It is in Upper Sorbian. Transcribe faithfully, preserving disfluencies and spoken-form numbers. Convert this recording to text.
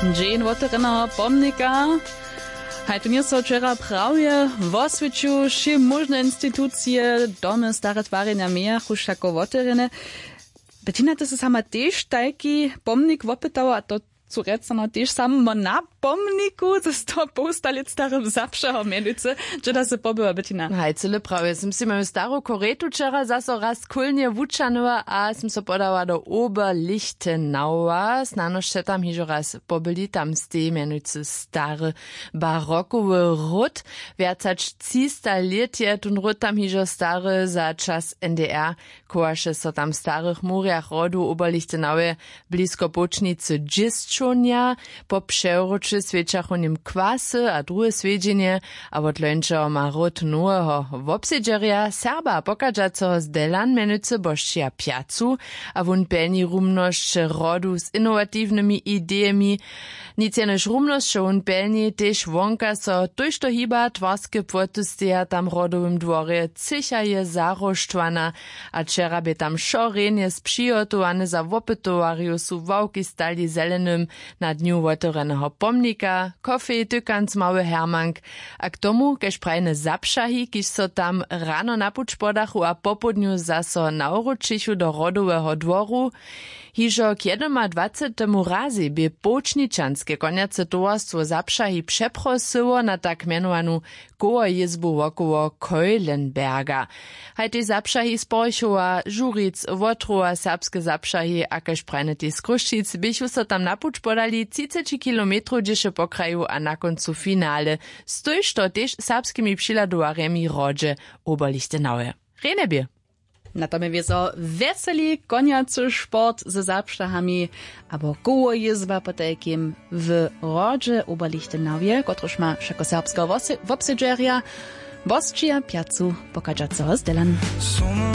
Dźeń wotewrjeneho pomnika. Haj, tu njeso wčera prawje woswěćił, wšě móžne institucije, domy, stare twarjenja mějachu wšako wotewrjene. Bettina, ty sy sama tež tajki pomnik wopytała, a to su rjecano tež samo na pomniku ze sto połsta lět starym zapšahom mjenujcy. Hdźe da sy pobyła, Bettina? Haj, cyle prawje, sym sej moju staru koretu wčera zaso raz kólnje wučanyła a sym so podała do Oberlichtenaua. Snano sće tam hižo raz pobyli, tam steji mjenujcy stary barokowy hród. Wjac hač třista lět je tón hród tam hižo stary. Za čas N D R chowaše so tam w starych murjach hrodu w Oberlichtenauje blisko połčnicy dźěsćownja. Po přewróće swjećachu w nim kwasy a druhe swjedźenje, a wot lońšeho ma hród noweho wobsedźerja, Serba pochadźaceho z Delan, mjenujcy Bošćija Pjacu. A wón pjelni rumnosć hrodu z inowatiwnymi idejemi. Nic jenož rumnosć, wón pjelni tež wonka so tójšto hiba. Twarske płoty steja tam w hrodowym dworje, třěcha je zaróštwana. A wčera bě tam wšo rjenje spřihotowane. Za wopytowarjow su ławki stali w zelenym na dnju wotewrjeneho pomnika, kofej, tykanc, mały hermank. A k tomu, kaž prajene zapšahi, kiž so tam rano na puć podachu a popołdnju zaso nawróćichu do hrodoweho dworu. Hižo k jedymadwacetemu razej bě połčničanske konjace towarstwo zapšahi přeprosyło na tak mjenowanu kołojězbu wokoło Keulenberga. Haj tež zapšahi z Porchowa, Žuric, Wotrowa, serbske zapšahi a kaž prajne tež z Chrósćic běchu so tam na puć podali třiceći kilometrow, hdźež je pokrajił a na kóncu finale z tójšto tež serbskimi přihladowarjemi w hrodźe Oberlichtenaue. Rjenje bě. Na tome wězo wjeseli konjacy sport ze zapšahami abo kołojězba potajkim w hrodźe Oberlichtenauje, kotryž ma wšakoserbskeho wose-, wobsedźerja Bošćija Pjacu pochadźaceho z Delan.